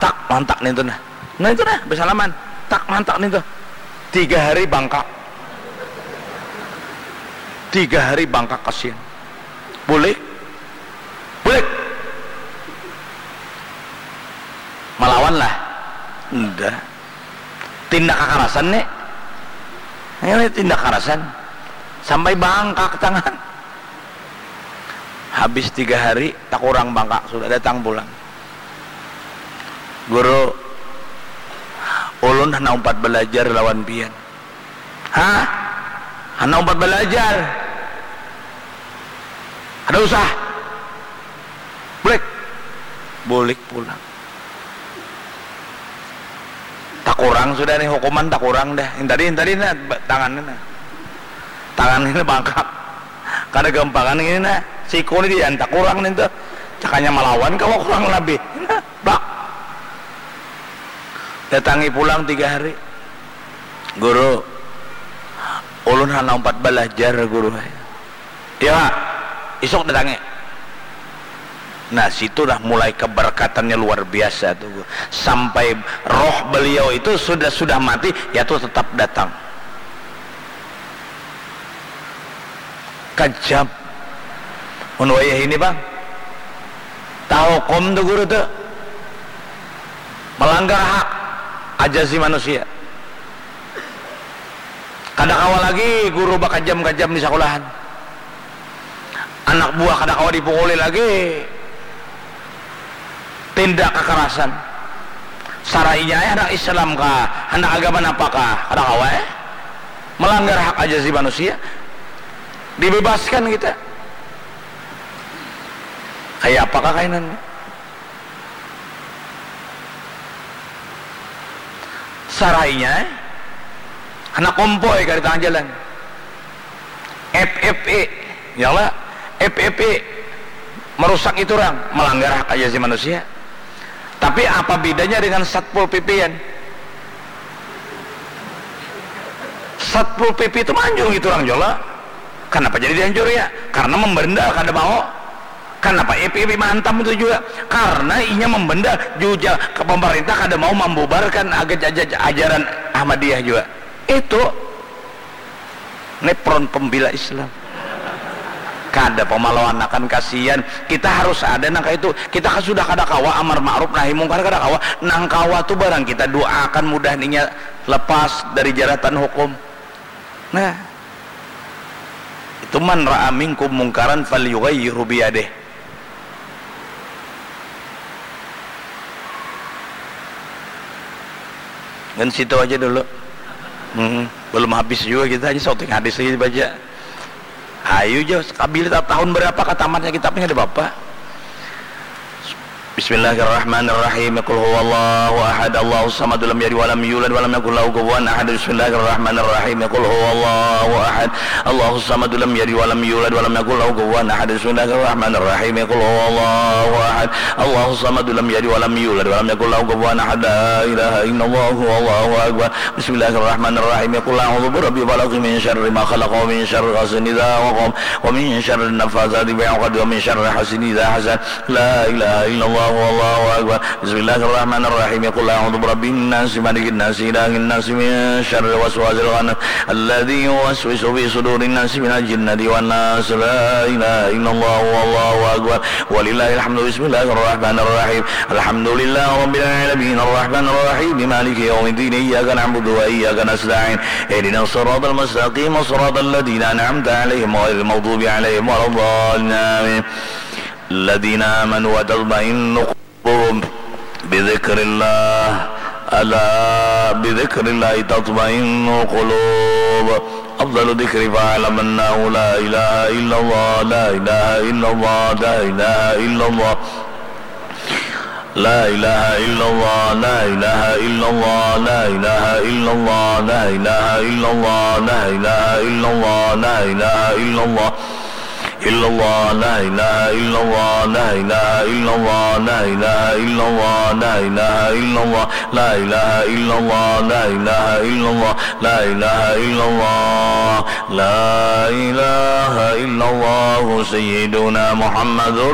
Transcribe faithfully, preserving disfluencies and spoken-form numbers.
Tak mantak nintu nah. Nah itu nah, basalaman. Tak mantak nintu. Tiga hari bangkak. Tiga hari bangkak kasian. Bulik. Bulik. Malawan lah. Nda. Tindak kakarasan nih. Ini tindak karasan. Sampai bangkak tangan. Habis tiga hari, takurang bangkak, sudah datang pulang. Guru, ulun handak umpat balajar lawan pian. Hah? Handak umpat balajar? Kada usah. Bulik. Bulik pulang. Takurang sudah nih hukuman, takurang dah. Ini tadi, ini tadi nah, tangan ini nah. Tangan ini bangkak. Kada gampangan ini nah. Siku ini diantak kurang nih tuh. Cakanya malawan kawa kurang lebih. Nah, bak. Datangi pulang tiga hari. Guru, ulun handak umpat balajar, Guru. Ya, isuk datangi. Nah, situlah mulai keberkatannya luar biasa tuh. Sampai roh beliau itu sudah sudah mati, ya tuh tetap datang. Kejam. Mun wayah ini, Bang. Tahukum tuh guru tuh. Melanggar hak ajazi manusia. Kada kawa lagi guru bakajam-kajam di sakulahan. Anak buah kada kawa dipukuli lagi. Tindak kakarasan. Sarainya ai handak Islam kah, handak agama napa kah, kada kawa eh. Melanggar hak ajazi manusia. Dibebaskan kita. Kaya apakah kainan? Sarainya eh. Handak kompoi ka di tangah jalan. F F E, ya lah, F F E merusak itu orang, melanggar hak ajazi manusia. Tapi apa bedanya dengan Satpol P P-an? Satpol P P itu manjung itu orang jola. Kenapa jadi dihancur ya? Karena membendal kada mau. Kenapa F F I mantap itu juga? Karena inya membendal juga ke pemerintah kada mau membubarkan aja-, aja-, ajaran Ahmadiyah juga. Itu ini front pembela Islam. Kada pemalawan akan kasihan. Kita harus ada nang kayak itu. Kita kan sudah kada kawa amar ma'ruf nahi mungkar kada kawa. Nang kawa tuh barang kita doakan mudah ninya lepas dari jeratan hukum. Nah. Itu man ra'a minkum mungkaran falyughayyirhu biyadih. Dan situ aja dulu. Hmm, belum habis juga kita aja shooting hadis lagi baca. Ayo jo, sekabilit tahun berapa katamatnya kitabnya ada bapak. Bismillahirrahmanirrahim. Qul huwallahu ahad. Allahus samad, lam yalid walam yulad walam yakul lahu kufuwan ahad. Bismillahirrahmanirrahim. Qul huwallahu ahad. Allahus samad, lam yalid walam yulad walam yakul lahu kufuwan ahad. Bismillahirrahmanirrahim. Qul huwallahu ahad. Allahus samad, lam yalid walam yulad walam yakul lahu kufuwan ahad. La ilaha illallah, wallahu akbar. Bismillahirrahmanirrahim. Qul a'udzu birabbil falaq, min syarri ma khalaq, wa min syarri ghasiqin idza waqab, wa min syarri naffatsati fil 'uqad, wa min syarri hasidin idza hasad. La ilaha illallah, wallahu akbar. Bismillahirrahmanirrahim. Qul a'udzu birabbin nas, malikin nas, ilahin nas, min syarril waswasil khannas, alladzi yuwaswisu fi sudurin nas, minal jinnati wan nas. La ilaha illallah, wallahu akbar. Walillahil hamdu. Bismillahirrahmanirrahim. Alhamdulillahi rabbil alamin, arrahmanir rahim, maliki yaumiddin, iyyaka na'budu wa iyyaka nasta'in, ihdinas siratal mustaqim, siratal ladzina an'amta 'alaihim, ghairil maghdubi 'alaihim waladdallin. Amin. Alladzina amanu wa tatma'innu qulubuhum bidzikrillah. Ala bidzikrillahi tatma'innul qulub. Afdalu dzikri fa'lam annahu la ilaha illallah, la ilaha illallah, la ilaha illallah. La ilaha illallah, la ilaha illallah, la ilaha illallah, la ilaha illallah, la ilaha illallah, la ilaha illallah. Illallah, la ilaha illallah, la ilaha illallah, la ilaha illallah, la ilaha illallah, la ilaha illallah, la ilaha illallah, la ilaha illallah, la ilaha illallah, Sayyiduna Muhammadur